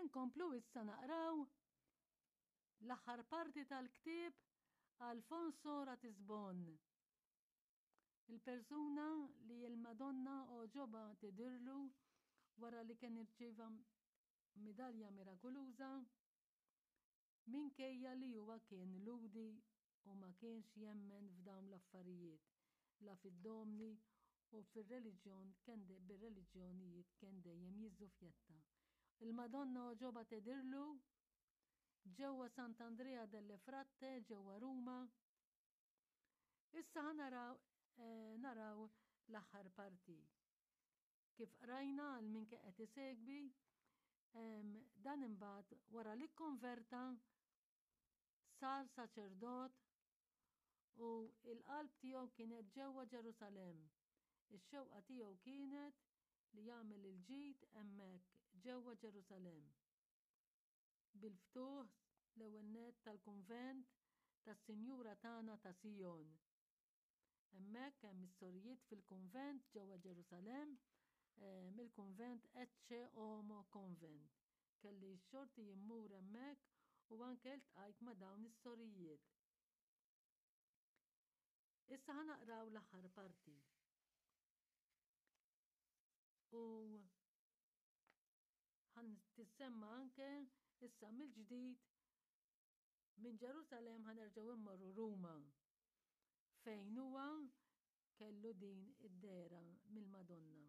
Inkomplu issa naqraw l-aħħar parti tal-ktieb Alfonso Ratisbon. Il-persuna li l-Madonna għoġobha tidhirlu wara li kien irċieva midalja mirakuluża Minkejja li huwa kien Lhudi u ma kienx jemmen f'dawn l-affarijiet, la fid-domni u fir-reliġjon kien bir-reliġjonijiet kien dejjem jiżżufjetta. Il-Madonna għoġobha tidhirlu ġewwa Sant'Andrea delle Fratte ġewwa Ruma. Issa ħa naraw eh, naraw l-aħħar parti. Kif qrajna għal min kien qed isegwi, dan imbagħad wara li kkonverta sar saċerdot u il-qalb tiegħu kienet ġewwa Ġerusalemm. Ix-xewqa tiegħu kienet li jagħmel il-ġid hemmhekk ġewwa Ġerusalemm. Bil-ftuħ l-ewwel nett tal-kunvent tas-Sinjura tagħna ta' Sijon. Hemmhekk hemm is-sorijiet fil-kunvent ġewwa Ġerusalemm, eh, mill-kunvent Ecce Homo Convent. Kelli x-xorti jimmur hemmhekk u anke ltqajt ma' dawn is-sorijiet. Issa ħa naqraw l-aħħar parti. U ħan tissemma anke issa mill-ġdid Minn Ġerusalemm ħa nerġgħu immorru Ruma fejn huwa kellu din id-dehra mill-Madonna.